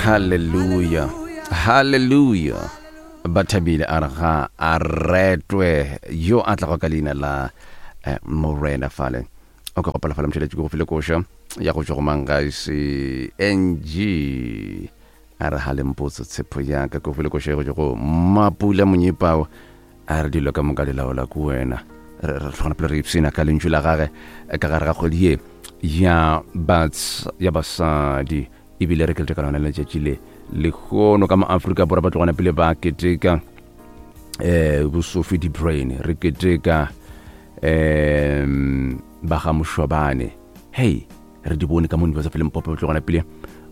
Hallelujah. Hallelujah. Ba thabile a re ga a retwe yo a tlago ka leina la eh, Morena fale. O ka gopela fale motšheletše ke go file koša ya go tšwa go Mangaise NG. A re ga le mpotse tshepo ya ka ke go file koša ya go tšwa go Mapula Monyepao. A re dilo ka moka di laola ke wena. Re re tlhogana pele re ipshina ka lentšu la gage eh, ka gare ga kgwedi ye ya bats ya basadi ebile re keteka lona letšatši le lehono ka mo Afrika Borwa ba tlogana pele ba keteka eh bosofi di brain re keteka um ba ga mošobane hei re di bone ka mo University of Limpopo ba tlogana pele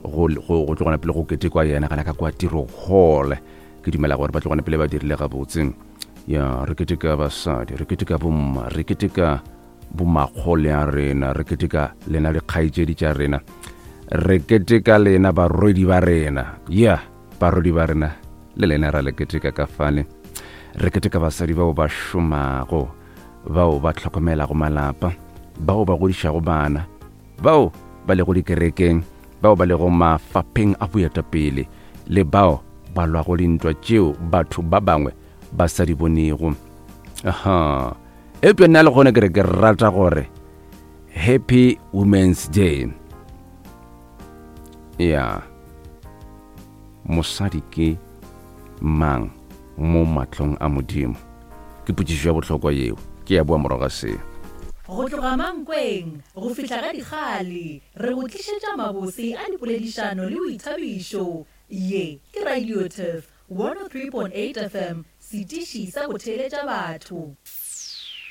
go go go tlogana pele go ketekwa yena gana ka kwa tiro hall ke dumela gore ba tlogana pele ba dirile gabotse ya re keteka basadi re keteka bomma re keteka bomakgole a rena re keteka lena dikgaetšedi tša rena re keteka lena barwedi ba rena ya barwedi ba rena le lena ra le keteka ka fale re keteka basadi bao ba šomago bao ba hlokomelago malapa bao ba godišago bana bao ba lego dikerekeng bao ba lego mafapheng a boetapele le bao ba lwago dintwa tšeo batho ba bangwe ba sa di bonego aha eupša nna le gone ke re ke rata gore happy women's day ya mosadi ke mang mo mahlong a modimo ke potšišo ya bohlokwa yeo ke ya boa morago ga seo Go tloga Mankweng go fihla ga Dikgale, re go tlišetša mabose a dipoledišano le boithabišo. Ye ke Radio Turf 103.8 FM, setiši sa go theeletša batho.